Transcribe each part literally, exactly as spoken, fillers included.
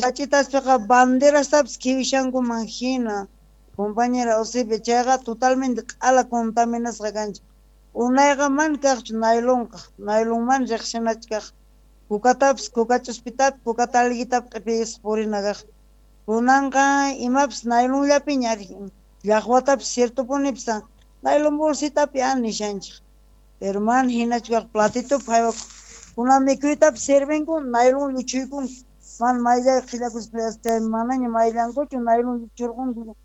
Sachitaspiqa banderastapis khiwishankuman hina, compañera Eusebia, chayqa totalmente q'ala contaminasqa kanchik. Unayqa mana kaqchu naylonqa, naylonman riqsinachu kaq. Kukatapis, kukach'uspitapis, kuka talguitapis q'ipiyisqa purina kaq. Kunanqa imapis naylonllapiña ari, llaqwatapis ciertopunipis naylon bolsitapi a nishanchik. Pero mana hinachu kaq platitopi haywakuq. Kunan mikhuytapis sirvinku naylon lluchuykunku. Mana mayllay qhillakuspa chay manaña mayllankuchu naylon lluchurqunku.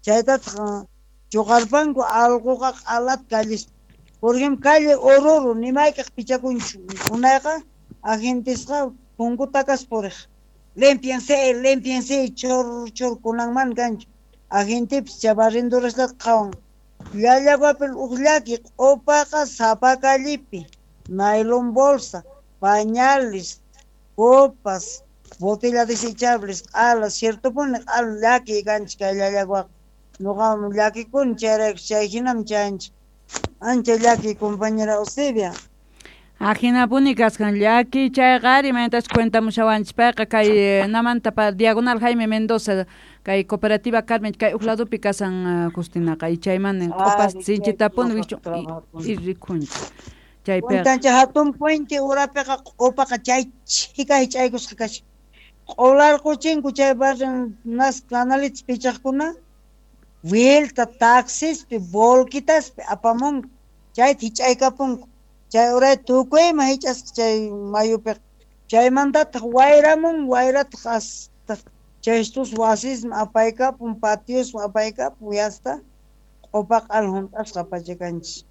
Chaytataq chuqarpanku allquqa q'alata callispa. Por ejemplo, calle Oruro, ni mayk'aq pichakunchu. Unayqa agentisqa punku takas puriq. Limpiense, limpiense, chur chur kunan mana kanchu. Agentipis chay barrenduraslata qhawan. Llallaguapi uj llaki q'upaqa sapa callepi, naylon bolsa, pañales, copas, botella desechables, q'ala, ciertopuni q'ala llaki kanchik kay Llallaguaqa. Nuqa llakikuni chayrayku chay hinam chayanchik. Ancha llaki compañera Eusebia. Ajinapuni kaskan llaki chayqa ari maytas cuentamushawanchik payqa kay namanta pa diagonal Jaime Mendoza kay cooperativa Carmen kay uj ladopi kasan Justinaqa y chayman q'upas sinchitapuni wikchu y rikhunchik chaypiqa. Cuentanchik hatun puente urapiqa q'upaqa chay chhika hich'aykusqa kashan. Q'ularquchinku chay barrio nas canalitas pichaqkuna vuelta taxispi volquitaspi apamunku chayta hich'aykapunku. Chay uray tukuyman hich'asqa chay mayupiqa. Chaymantataq wayramun wayrataq hasta chay estos wasisman apaykapun patiosman apaykapun yasta q'upa q'ala hunt'asqa pachakanchik.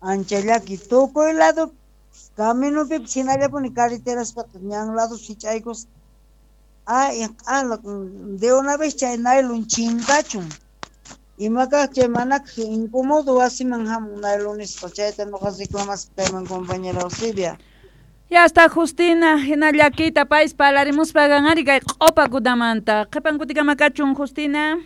Ancha llaki tukuy lado caminopipis hinallapuni carreteraspaqa ñan lados hich'aykusqa. Ay q'ala de una vez chay naylon chinkachun. Ima kaq chay manakaq incomodo wasiman hamun naylon nisqa chayta nuqa reclamasqa kayman compañera Eusebia. Ya está Justina, hina llakiyta payis parlarimuspa ari kay q'upakunamanta. Qhipan kutikama kachun Justina.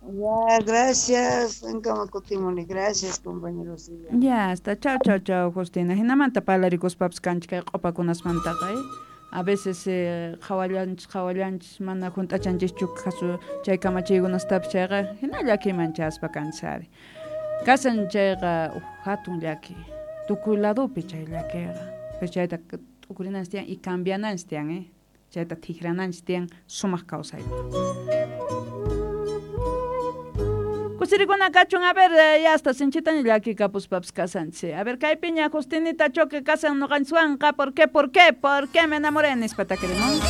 Ya, gracias. Ankama kutimuni. Gracias, compañero Eusebia. Ya está. Chau, chau, chau, Justina. Hinamanta parlarikuspapis kanchik kay q'upakunasmantaqa, eh? A veces eh, qhawallanchis qhawallanchis mana hunt'achanchischu kasu chay kamachiykunastapis chayqa hina llakiman chaspa kanchis ari. Kasan chayqa uj hatun llaki. Tukuy ladopi chay llakiqa. Pero chayta t'ukurinanchis tiyan y cambiananchis tiyan, eh? Chayta tijrananchis tiyan sumaq kawsaypaq. Kusirikuna kachun, a ver, ya hasta sinchitaña llakikapuspapis kasanchis. A ver, kaypiña Justinita Choque kasan noqanchiswanqa, ¿por qué, por qué, por qué me enamoré? Nispa takirimun.